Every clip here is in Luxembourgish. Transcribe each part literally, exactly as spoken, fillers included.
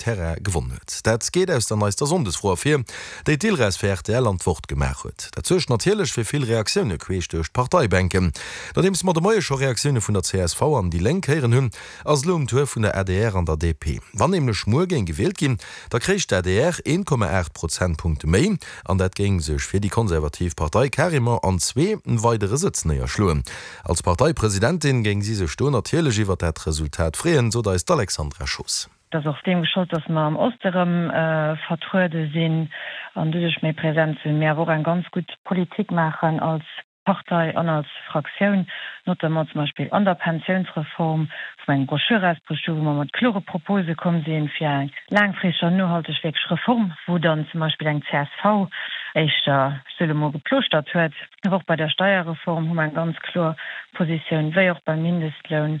Terrain gewonn huet. Dat geet aus der neister Sonndesfro ervir, déi d'Ilres fir rtl an d'Wort gemaach huet. Dat suergt natierlech fir vill Reaktioune queesch duerch d'Parteibänken. Nodeems mer de Moie scho Reaktioune vun der csv an déi Lénk héieren hunn, ass et elo um Tour vun der adr an der DP. Wann nämlech muer géing gewielt ginn, da kréich d'ADR een Komma aacht Prozentpunkte méi an dat géing sech fir déi konservativ Partei carrément an zwee weidere Sëtz néierschloen. Als Parteipresidentin géing si sech do natierlech iwwer dat Resultat freeën, sot eis d'Alexandra Schoos. Et ass och deem geschollt, dass mer am Oste rëm vertruede sinn an doduerch méi präsent sinn, mee awer och eng ganz gutt Politik maachen als Partei an als Fraktioun, notamment zum Beispill an der Pensiounsreform, wou mer eng Broschür erausbruecht hu wou mer mat klore Propose komm sinn fir eng laangfristeg an nohalteg wierklech Reform, wou dann zum Beispill eng csv éischter, ech soe lo mol, geplooschtert huet. Awer och bei der Steierreform hu mer eng ganz kloer Positioun, wéi och beim Mindestloun.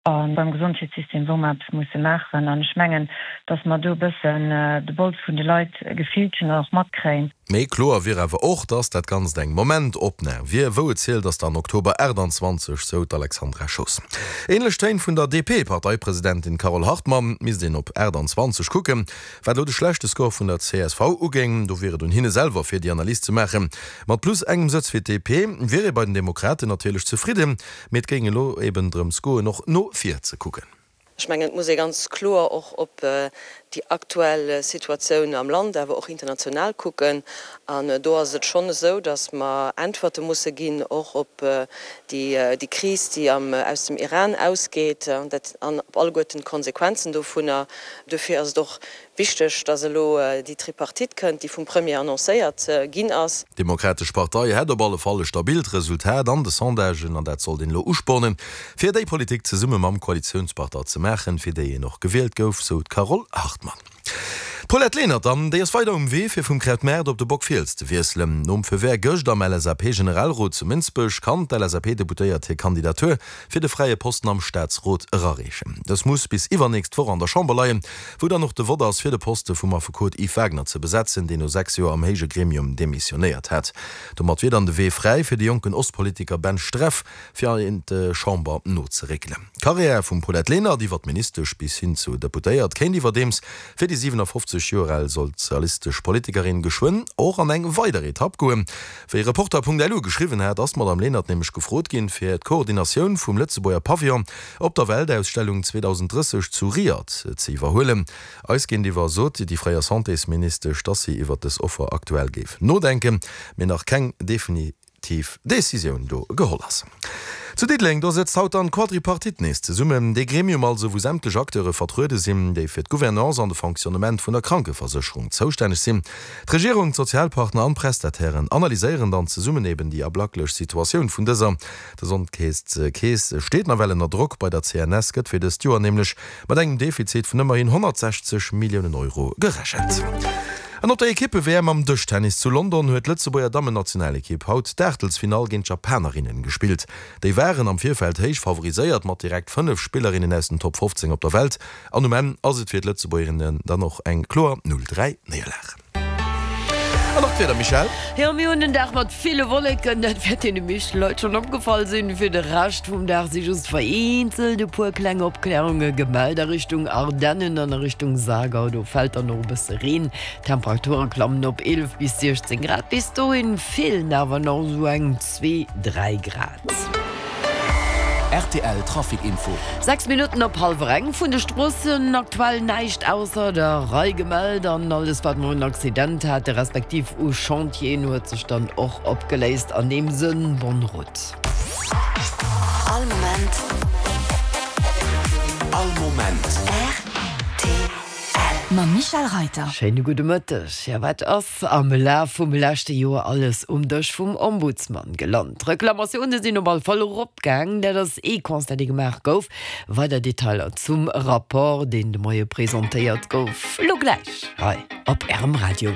A beim Gesondheetssystem, wou mer eppes musse maachen. An ech mengen, datt mer do e bëssen de Bols vun de Leit gefillt hunn an och matkréien. Méi kloer wier awer och, datt dat Ganzt eng Momentopnam wier. Wou et zielt, ass dann Oktober achtanzwanzeg, sou d'Alexandra Schoos. Änlech Téin vun der DP-Parteipresidentin Carole Hartmann, Et misst een op achtanzwanzeg kucken. Wat elo de schlechte Score vun der csv ugéing, do wier et un hinne selwer, fir déi Analys ze maachen. Mat plus engem Sëtz fir d'DP wier ee bei den Demokraten natierlech zefridden. Mee et géing elo eben drëms goen, och no vir ze kucken. Ech mengen, et muss ee ganz kloer och op déi aktuell Situatioun am Land, awer och international kucken. An do ass et schonn esou, datt mer Äntwerte musse ginn, och op déi Kris, déi aus dem Iran ausgeet, an op alleguerten d'Konsequenzen dovunner. Dofir ass et och Wichteg, datt elo déi Tripartite kënnt, déi vum Premier annoncéiert ginn ass. D'Demokratesch Partei hätt op alle Fall e stabilt Resultat an de Sondagen an dat sollt een elo uspornen, fir déi Politik zesumme mam Koalitiounspartner ze maachen, fir déi een och gewielt gouf, sou d'Carole Hartmann. D'Paulette Lenert dann, déi ass weider um Wee fir vum Krautmaart op de Bockfiels ze wiesselen. Nom Feu vert gëscht am LSAP-Generalrot zu Mënsbech kann d'LSAP-Deputéiert hir Kandidatur fir de fräie Posten am Staatsrot erareechen. Dës muss bis iwwernächst Woch an der Chamber leien, wou dann och de Vott ass, fir de Poste vum Affekot Yves Wagner ze besetzen, deen no sechs Joer am héije Gremium demissionéiert hat. Domat wier dann de Wee fräi fir de jonken Ostpolitiker Ben Streff, fir an d'Chamber nozeréckelen. D'Karriär vum Paulette Lenert iwwer d'Ministesch bis hin zu Deputéiert kéint iwwerdeems fir déi siewenafofzeg Joer al sozialistesch Politikerin geschwënn och an eng weider Etapp goen. Wéi Reporter.lu geschriwwen hat, ass d'Madame Lenert nämlech gefrot ginn, fir d'Koordinatioun vum Lëtzebuerger Pavillon op der Weltausstellung zweedausend drësseg zu Riad ze iwwerhuelen. Eis géintiwwer sot déi fréier Santésministesch, dass si iwwer dës Offer aktuell géif nodenken, mee nach keng definitiv Decisioun do geholl ass. Zu Diddeleng, do sëtzt haut dann d'Quadripartite nees zesummen, dee Gremium also, wou sämtlech Acteure vertruede sinn, déi fir d'Gouvernance an de Fonctionnement vun der Krankeversécherung zoustänneg sinn. D'Regierung, d'Sozialpartner an d'Prestatairen analyséieren dann zesummen eben déi ablacklech Situatioun vun dëser. D'Gesondheetskeess steet nawell ënner Drock, bei der C N S gëtt fir dëst Joer nämlech mat engem Defizit vun ëmmerhin honnertsechzeg Milliounen Euro gerechent. An op der Ekippe-W M am Dëschtennis zu London huet d'Lëtzebuerger Dammennationalekipp haut d'Aachtelsfinall géint d'Japanerinnen gespillt. Déi waren am Virfeld héich favoriséiert mat direkt fënnef Spillerinnen aus den Top fofzéng op der Welt. An um Enn ass et fir d'Lëtzebuergerinnen dann och eng kloer null dräi Néierlag. An nach d'Wieder, Michèle? Jo, mir hunn en Dag mat ville Wolleken, dat wäert deene meeschte Leit schonn opgefall sinn. Fir de Rescht vum Dag si just vereenzelt e puer kleng Opklärunge gemellt a Richtung Ardennen an a Richtung Saargau. Do fält dann och e bësse Reen. D'Temperature klammen op eelef bis siechzéng Grad, bis dohin feelen awer nach esou eng zwee, dräi Grad. Rtl Trafic Info. Sechs Minutten op hallwer eng. Vun de Stroossen aktuell näischt ausser der Rei gemellt an alles wat mer un Accident hate respektiv u Chantieren huet sech dann och opgeléist. An deem Sënn, bonne route. All Moment. All Moment. R T L. Mam Michèle Reiter. Schéine gudde Mëtteg. Jo, wat ass am Laf vum leschte Joer alles um Dësch vum Ombudsman gelant? D'Reklamatioune sinn op all Fall eropgaang. Dat ass ee Constat, dee gemaach gouf. Weider Detailer zum Rapport, deen de Moie presentéiert gouf, elo gläich hei op Ärem Radio.